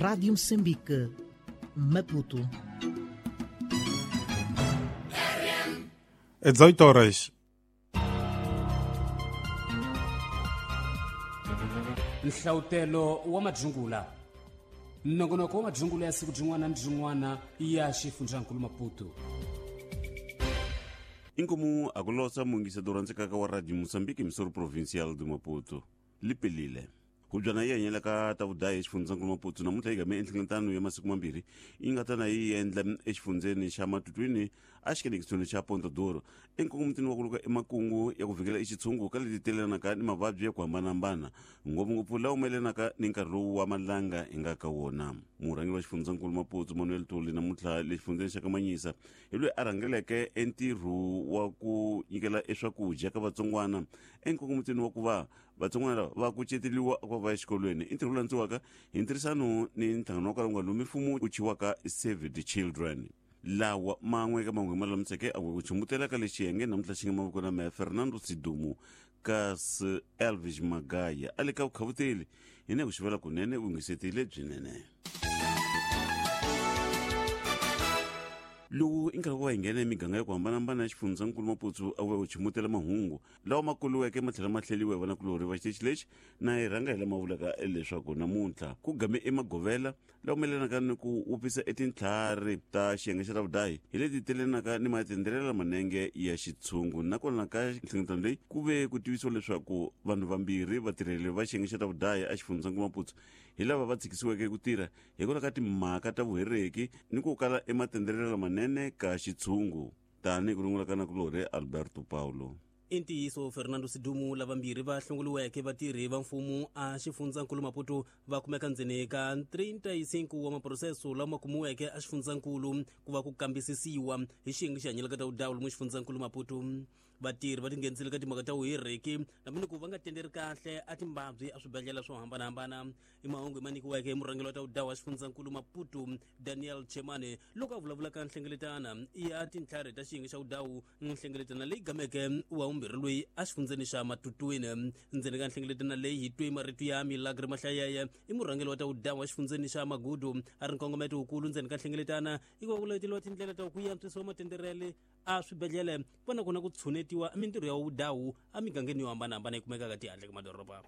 Rádio Moçambique, Maputo. É 18 horas. Nhlawutelo wa madzungula, nongonoko wa madzungula ya siku byin'wana na byin'wana ya xifundzankulu Maputo. Inkomu akulosa mungisedoro ntsekaka wa Radio Moçambique, emissora provincial do Maputo, lipelile hubyana yi hanyela ka ta vudayi exifundzankulu Maputo. Namuntlha yi game enhlengeletano ya masiku mambirhi yi nga ta na yi endla exifundzeni xa Matutwini exikelekisweni xa Ponta Duro, enkongomitini wa ku luka emakungu ya ku vhikela exitshungu ka leti telelanaka ni mavabyi ya ku hambanahambana, ngopfungopfu lawa mayelanaka ni nkarhi lowu wa malanga hi nga ka wona. Murhangeri wa xifundzankulu Maputo Manuel Tuli namuntlha le xifundzeni xa Kamanyisa hi loyi a rhangeleke entirho wa ku nyikela eswakudya ka vatsongwana enkongomitini wa ku va vatsongwana lava va kuceteriwa ku va exikolweni. I ntirho lowu landziwaka hi ntirhisano ni nhlangano wa kwala nga mfumo wu chiwaka Save the Children. Lawa man'we ka man'we ma lulamiseke a ku chumbutela ka lexi yenge namuntlha xi nga mavoko na meya Fernando Sidumu, kasi Elvis Magaya a le ka vukhavuteli hi ne ku xivela kunene vungisetile byinene. Lowu i nkarhi wa hi nghena emiganga ya ku hambanahambana ya xifundzankulu Maputo a vuya ku chumutela mahungu lawa ma kuluweke ma tlhela ma hleliwa hi vanakulorhi va xitichi lexi. Na hi rhanga hi lama vulaka leswaku namuntlha ku game emagovela lawa mayelanaka ni ku wupisa etintlhari ta xiyenge xa ravudayi hi leti telenaka ni matendelela manenge ya xitshungu. Nakona ka nhlengeletano leyi ku ve ku tivisiwa leswaku vanhu vambirhi vatirheli va xiyenge xa ravudayi a xifundzankulu Maputo hi lava va tshikisiweke ku tirha hikwalaho ka timhaka ta vuhereki ni ku kala ematendelela manene ka xitshungu, tanihi ku rungula ka nakulorhi Alberto Paulo. I ntiyiso Fernando Sidumu, lavambirhi va hlongoliweke vatirhi va mfumo a xifundzankulu Maputo va kumeka ndzeni ka 35 wa maproseso lama kumiweke a xifundzankulu ku va ku kambisisiwa hi xiyenge xi hanyelaka ta vudawu lomu xifundzankulu Maputo. Vatirhi va tinghenisile ka timhaka ta vuhiriki hambi ni ku va nga tenderi kahle a timbabyi a swibedhlele swo hambanahambana. I mahungu ma nyikiweke hi murhangeri wa ta vudawu wa xifundzankulu Maputo Daniel Chemane loko a vulavula ka nhlengeletana ya tintlhari ta xiyenge xa vudawu, nhlengeletana leyi gameke wa vumbirhi loyi a xifundzeni xa Matutwini. Ndzeni ka nhlengeletana leyi hi twe marito ya Milagre Mahlayeye, i murhangeri wa ta vudawu wa xifundzeni xa Magudu, a ri nkongometo wukulu ndzeni ka nhlengeletana i ku va ku leteliwa tindlela ta ku antswisiwa matenderele a swibedhlele ku va na kona ku tshunetiwa mintirho ya vudawu emigangeni yo hambanahambana yi kumekaka tihandle ka madoroba.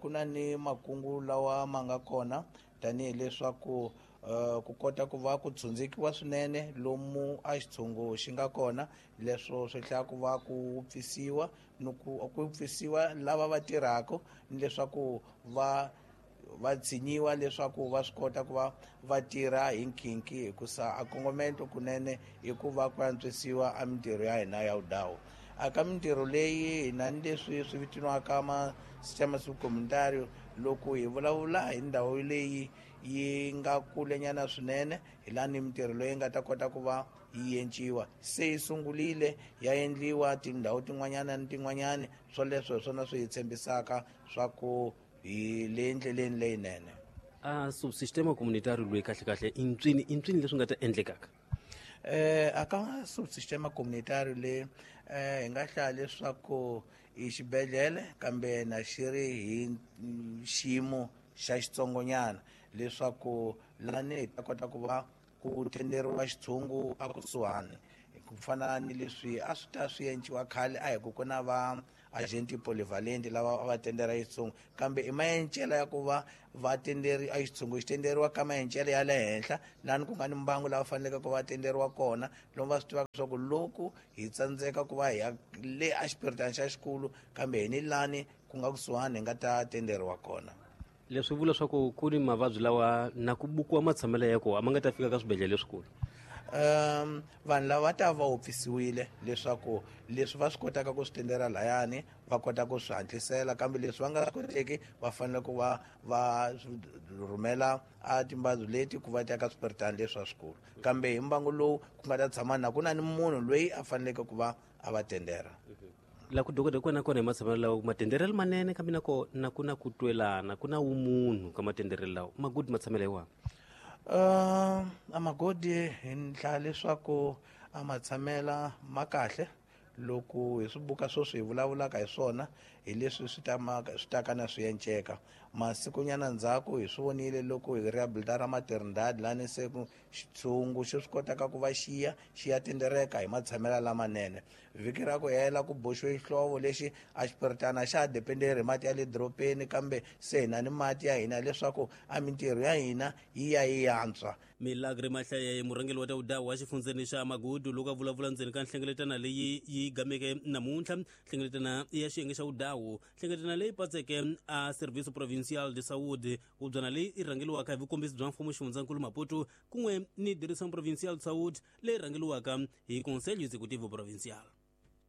Ku na ni makungu lawa ma nga kona tanihileswaku ku kota ku va ku tshundzikiwa swinene lomu a xitshungu xi nga kona, leswo swi hlaya ku va ku pfisiwa ni ku pfisiwa lava va tirhaka ni leswaku va tshinyiwa leswaku va swi kota ku va va tirha hi nkhinkhi, hikusa a kongomento kunene i ku va ku antswisiwa a mintirho ya hina ya vudawu. A ka mintirho leyi hina ni leswi swi vitaniwaka ma sistema subcomunitario, loko hi vulavula hi ndhawu leyi yi nga kulenyana swinene, hi laha ni mintirho leyi nga ta kota ku va yi enciwa. Se yi sungurile ya endliwa tindhawu tin'wanyana ni tin'wanyana, swoleswo hi swona swi hi tshembisaka swa ku hi le ndleleni leyinene. A subsistema communitario loyi kahle kahle i ntswini leswi nga ta endlekaka? A ka subsistema communitario le hi nga hlaya leswaku i xibedhlele kambe na xi ri hi xiyimo xa xitsongonyana, leswaku lani hi ta kota ku va ku tenderiwa xitshungu a kusuhani, ku fana ni leswi a swi ta swi enciwa khale a hi ku ku na va agenti polyvalent lava va tendera xitshungu, kambe i maencela ya ku va va tenderi a xitshungu xi tenderiwa ka maencela ya le henhla lani ku nga ni mbangu lava faneleke ku va tenderiwa kona, lomu va swi tivaka leswaku loko hi tsandzeka ku va hi ya le a xipiritani xa xikulu kambe hi ni lani ku nga kusuhani hi nga ta tenderiwa kona. Leswi vula leswaku ku ni mavabyi lawa na ku bukiwa matshamelo ya kona a ma nga ta fika ka swibedhlele leswikulu. Vanhu lava ta va wupfisiwile leswaku leswi va swi kotaka ku swi tendera layani va kota ku swi hatlisela, kambe leswi va nga swi koteki va fanele ku va va rhumela a timbabyi leti ku va ta ka swipiritani leswi swikulu, kambe hi mbangu lowu ku nga ta tshama na ku na ni munhu loyi a faneleke ku va a va tendera. La ku dokodela kona kona hi matshamelo lawa matenderelo manene, kambe na kona ku na ku twelana, ku na vumunhu ka matenderelo lawa. Magudi matshamelo hi wahi? A magodi hi ndlela leswaku a matshamela ma kahle loko hi swi buka sweswi hi vulavulaka hi swona, hi leswi swi ta ka na swi enceka. Masikunyana ndzhaku hi swi vonile loko hi rehabilita ra Maternidade lani se ku xitshungu xi swi kotaka ku va xiya xi ya tindereka hi matshamelo lamanene. Vhiki ra ku hela ku boxiwe xihlovo lexi a xipiritana xa ha dependeri hi mati ya le dorobeni, kambe se hi na ni mati ya hina leswaku a mintirho ya hina yi ya yi yantswa. Milagre Mahlaye, murhangeri wa ta wa xifundzeni xa Magudu, loko a vulavula ndzeni ka nhlengeletano leyi yi gameke namuntlha, nhlengeletano ya xiyenge xa vudawu, nhlengeletano leyi patseke a Serviço Provincial de Saúde, hubyana leyi yi rhangeriwaka hi vukombisi bya mfumo xifundzankulu Maputo, kun'we ni Direção Provincial de Saúde leyi rhangeriwaka hi Conselho Executivo Provincial.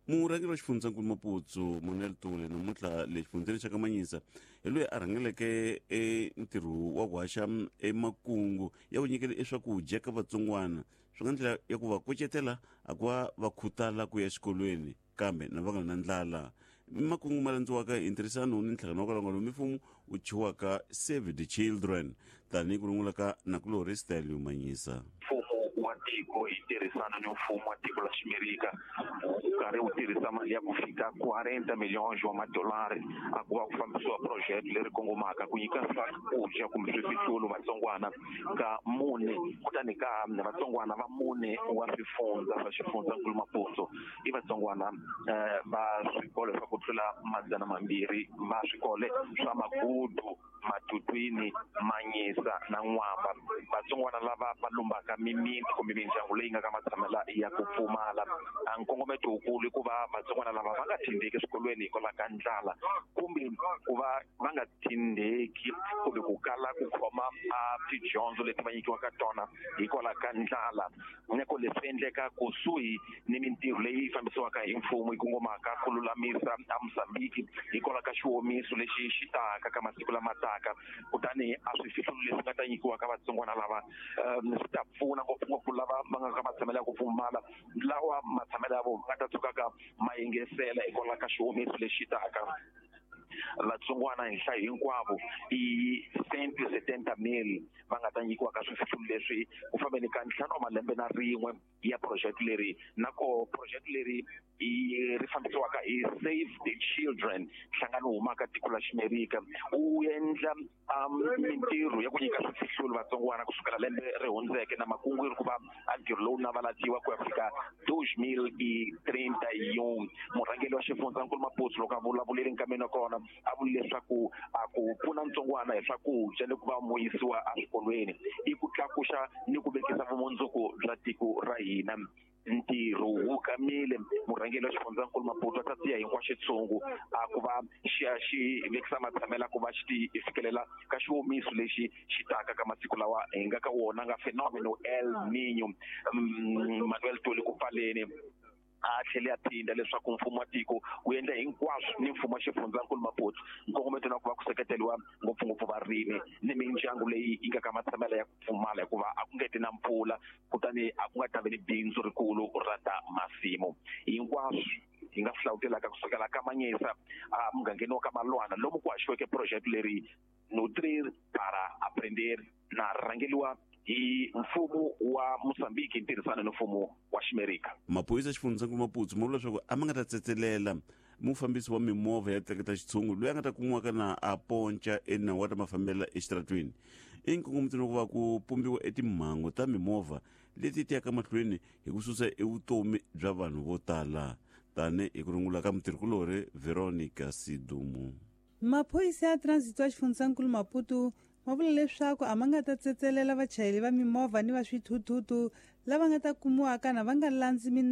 Murhangeri wa xifundzankulu Maputo Manuel Tule namuntlha le xifundzeni xa Kamanyisa hi loyi a rhangeleke entirho wa ku haxa emakungu ya ku nyikela eswakudya ka vatsongwana, swi nga ndlela ya ku va kucetela a ku va va khutala ku ya xikolweni kambe na va nga na ndlala. Makungu ma landziwaka hi ntirhisano ni nhlangano wa kwalangalo mifumo wu thyiwaka Save the Children, tanihi ku rungula ka nakulorhi Stelio Manyisa. Mfumo wa tiko hi tirhisana ni mfumo wa tiko la Ximerika wu karhi wu tirhisa mali ya ku fika 40 milhões wa madolari a ku va ku fambisiwa project leri kongomaka ku nyika swakudya kumbe swifihlulo vatsongwana ka mune, kutani ka vatsongwana va mune wa swifundza swa xifundzankulu Maputo i vatsongwana va swikolo swa ku tlula 200 va swikolo swa Magudu, Matutwini, Manyisa na N'wamba. Vatsongwana lava va lumbaka mimiti kumbe mindyangu leyi nga ka matshamela ya ku pfumala. A nkongometo wukulu i ku va vatsongwana lava va nga tindeki eswikolweni hikwalaho ka ndlala, kumbe ku va va nga tindeki kumbe ku kala ku khoma a tidyondzo leti va nyikiwaka tona hikwalaho ka ndlala. Nyako leswi endleka kusuhi ni mintirho leyi fambisiwaka hi mfumo yi kongomaka ku lulamisa a Mozambique hikwalaho ka xiwomiso lexi xi taka ka masiku lama taka. Kutani a swifihlulo leswi nga ta nyikiwaka vatsongwana lava swi ta pfuna ngopfungopfu lava va nga ka matshamelo ya ku pfumala, lawa matshamelo ya vona nga ta tshukaka ma yingisela hikwalaho ka xiwomiso lexi taka. Vatsongwana hi nhlayo hinkwavo i 170,000 va nga ta nyikiwa ka swifihlulo leswi ku fambeni ka 5 wa malembe na rin'we ya project leri. Na ko project leri i ri fambisiwaka hi Save the Children, nhlangano wu humaka tiko la Ximerika, wu endla mintirho ya ku nyika swifihlulo vatsongwana kusukela lembe ri hundzeke, na makungu yi ri ku va a ntirho lowu navalatiwa ku ya fika 2031. Murhangeri wa xifundzankulu Maputo loko a vulavulile nkameni wa kona a vule leswaku a ku pfuna ntsongwana hi swakudya ni ku va muyisiwa eswikolweni i ku tlakuxa ni ku vekisa vumundzuku bya tiko ra hina. Ntirho wu kamile, murhangeri wa xifundzankulu Maputo a ta tiya hinkwaxo xitshungu a ku va xi ya xi vekisa matshamelo ku va xi ti fikelela ka xiwomiso lexi xi taka ka masiku lawa hi nga ka wona nga fenomeno El Niño. Manuel Tuli ku pfaleni a tlhele a phinda leswaku mfumo wa tiko wu endla hinkwaswo ni mfumo wa xifundzankulu Maputo nkongometo na ku va ku seketeriwa ngopfungopfu varimi ni mindyangu leyi yi nga ka matshamelo ya ku pfumala, hikuva a ku nge ti na mpfula, kutani a ku nga ta vi ni bindzu rikulu ra ta masimu. Hinkwaswo hi nga swi hlawutelaka kusukela ka Manyisa a mugangeni wa ka Malwana lomu ku haxiweke project leri Nutrir para Aprender na rhangeliwa hi mfumo wa Mozambique hi ntirhisano ni mfumo wa Ximerika. Maphorisa xifundzankulu Maputo ma vula leswaku a ma nga ta tsetselela mufambisi wa mimovha ya tleketla xitshungu loyi a nga ta kumiwaka na a ponca enawu wa ta mafambela exitaratweni. I nkongometelo wa ku va ku pumbiwa etimhangu ta mimovha leti ti yaka mahlweni hi ku susa evutomi bya vanhu vo tala, tani hi ku rungula ka mutirhikulorhi Veronica Sidumo. Maphorisa ya transit wa xifundzankulu Maputo ma vula leswaku a ma nga ta tsetselela vachayeri va mimovha ni va swithuthuthu lava nga ta kumiwaka na va nga landzi minawu.